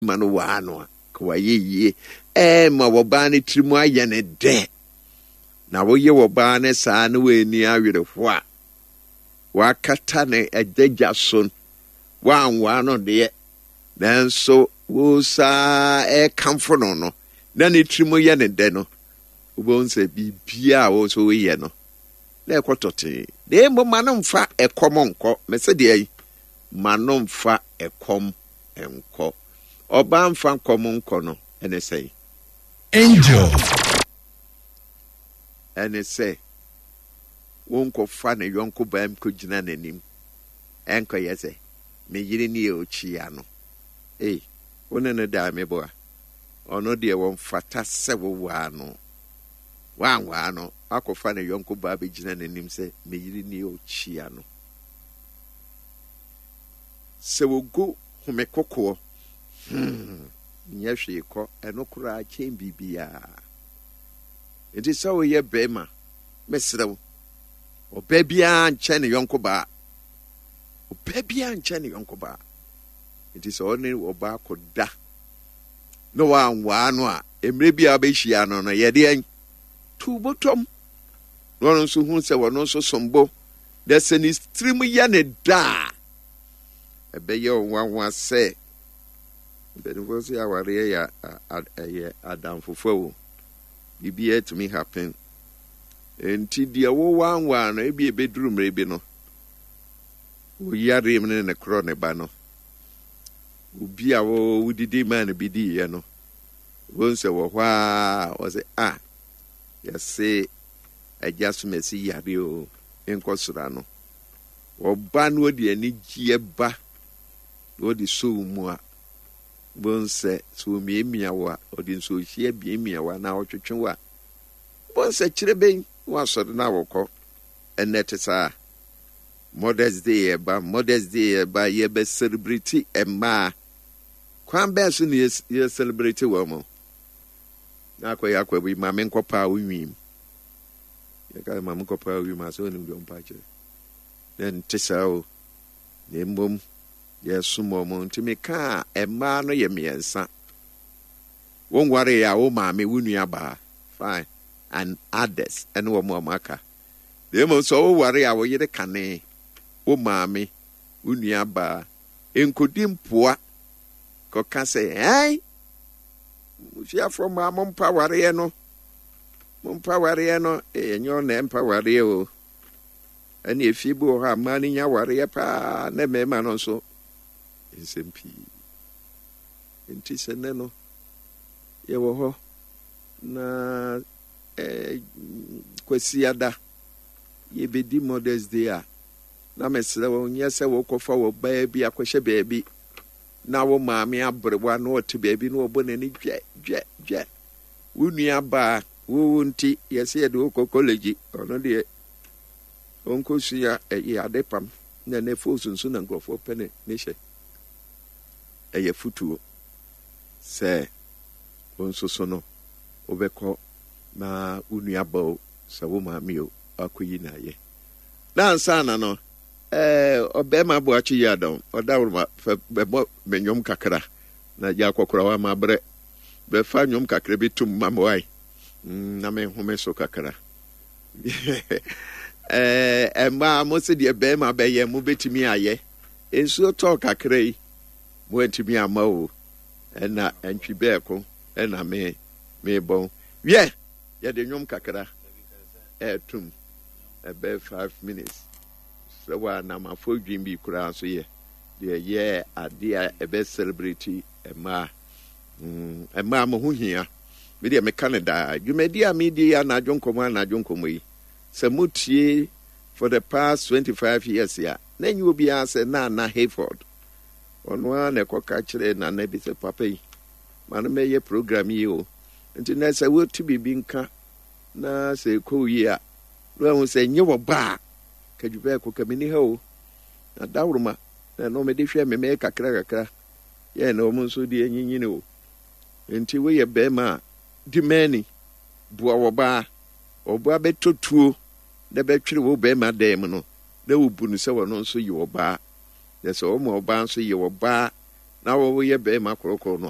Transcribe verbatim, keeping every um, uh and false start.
Ma no waa no a, ka wayɛ yie. Ɛɛma wɔbaa no tiri mu ayɛ ne dɛ. Na woyɛ wɔbaa no saa na wɔani awerɛho a, wakata ne adagya so, woanwaa no deɛ, nanso wo saa ɛrekamfo no no, na ne tiri mu yɛ ne dɛ no, wobɛhu sɛ biribiaa a wo nso woyɛ no, na ɛkɔ tɔtee. Na mmom ma no mfa ɛkɔm nkɔ. Mɛsɛ deɛ yi, ma no mfa ɛkɔm nkɔ. Ɔbaa mfa nkɔm nkɔ no, ɛne sɛn? Angel. Ɛne sɛ, wonkɔfa ne yɔnko baa mu kɔgyina n'anim. Ɛnkɔyɛ sɛ, me yere ne yɛ okyia no. Ei, wo ne no daa meboa. Ɔno deɛ wɔmfata sɛ wowaa no. Woanwaa no, akɔfa ne yɔnko baa bɛgyina n'anim sɛ, me yere ne yɛ okyia no. Sɛ wogu home kokoɔ, hmm, nyɛ hwee kɔ, ɛno koraa kyɛn biribiara. Nti sɛ woyɛ bɛrima, mesrɛ wo, ɔbaa biara nkyɛn ne yɔnko baa. Ɔbaa biara nkyɛn ne yɔnko baa. Nti sɛ ɔne ɔbaa kɔda na wanwaa no a, mmerɛ bi a wobɛhyia no no, yɛde ɛn tu bɔtɔm. Na ɔno nso hu sɛ ɔno nso som bo. Na sɛ ne tirim yɛ ne da a, ɛbɛyɛ ɔnwanwa sɛ mpanimfoɔ sɛ awareɛ yɛ ɛyɛ adamfofa o. Biribiara tumi happen. Nti deɛ wowanwaa no, ebi ebɛduru mmerɛ bi no, woyare mu ne ne korɔ ne ba no, obi a wodidi maa no bi diiɛ no, wɔn sɛ wɔ hɔ a wɔsɛ a yɛse agya so mɛsi yare o, nkɔ sora no. Ɔba no ɔde anigyeɛ ba na ɔde so wo mu a, wɔn sɛ sɛ omiamia wo a, ɔde nsuohyia miamia wo anaa ɔtwetwe wo a, wɔn sɛ kyerɛ bɛn na wasɔre na wɔkɔ. Ɛnɛ te saa. Mother's Day ɛba, Mother's Day ɛba, yɛbɛ celebrate mmaa. Kwan bɛn so na yɛ celebrate wɔn mo? Na akɔyɛ akɔ bi maame nkɔpa a wonwim. Yɛka maame nkɔpa a wonwim asɛ onim deɛ ɔmpa kyerɛ. Na nte saa o. Na mmom yɛsom wɔn nti meka a mmaa no yɛ mmiɛnsa. Wɔnware a wo maame, wo nua baa, fine, and others ɛne wɔn a wɔaka. Na mmom sɛ woware a wo yere kane, wo maame, wo nua baa, nkodi mpoa kɔka sɛ, ɛn, musuafoɔ mmaa mompa wareɛ no, mompa wareɛ no, ɛnyɛ ɔna ɛmpa wareɛ o. Ɛne efie bi wɔ hɔ a mmaa no nya wareɛ paa na mmarima no nso nsɛm pii. Nti sɛ nnɛ no yɛwɔ hɔ na eh, Kwasiada yɛbɛdi Mother's Day a, na mesrɛ wo nyɛ sɛ wokɔfa wɔ baa bi akɔhyɛ baabi na wo maame aberewa na ɔte baabi na ɔbɔ n'ani dwɛ dwɛ dwɛ. Wo nua baa wo nti yɛsɛ yɛde wokɔ college, ɔno deɛ ɔnkɔsua ɛyɛ ade pam na ne fos nso na nkurɔfoɔ pɛ ne ne hyɛ. Ɛyɛ futuo sɛ wo nso so no wobɛkɔ na wo nua ba o, sɛ wo maame o, akɔyi na ayɛ. Na ansa na no, ɛɛ ɔbɛrima aboakye yi adɔm, ɔdaworoma fɛ bɛbɔ me nnwom kakra na gya akɔkora wa ma brɛ. Bɛfa nnwom kakra bi tum ma me wae. Mm, na me so kakra. Ɛɛ mmaa mo sɛ deɛ bɛrima bɛyɛ mo bɛtumi ayɛ. Nsuo tɔɔ kakra yi, mo antumi ama o. Ɛna ntwi bɛɛko ɛna me mebɔn. Wiɛ, yɛde nnwom kakra ɛɛtum ɛbɛyɛ five minutes. Sɛ wa namafo dwin bi koraa nso yɛ deɛ yɛ adeɛ a ɛbɛ celebrate mmaa. Mm, mmaa mo ho hia. Me deɛ meka no daa. Dwumadi a medi yɛ anadwo nkɔmmɔ anadwo nkɔmmɔ yi. Sɛ motie for the past twenty-five years a, na nyɛ obiara sɛ Nana Hayford. Ɔno ara na ɛkɔka kyerɛ Nana bi sɛ papa yi, ma no mɛyɛ program yi o. Nti na sɛ wote biribi nka na sɛ ɛkɔ yie a, na wahu sɛ nyɛ wɔ ba a, kadwubɛɛko ka menni ha o. Na daworoma, na ɛno mede hwɛ me mɛyɛ kakra kakra. Yɛn na wɔn nso deɛ nyinyini o. Nti woyɛ bɛrima a, di mani, boa wɔ baa. Ɔbaa bɛtɔ tuo na bɛtwere wo bɛrima dan mu no, na wobu no sɛ ɔno nso yɛ ɔbaa. Na sɛ ɔma ɔbaa nso yɛ ɔbaa, Na wɔyɛ bɛrima korokoro no a.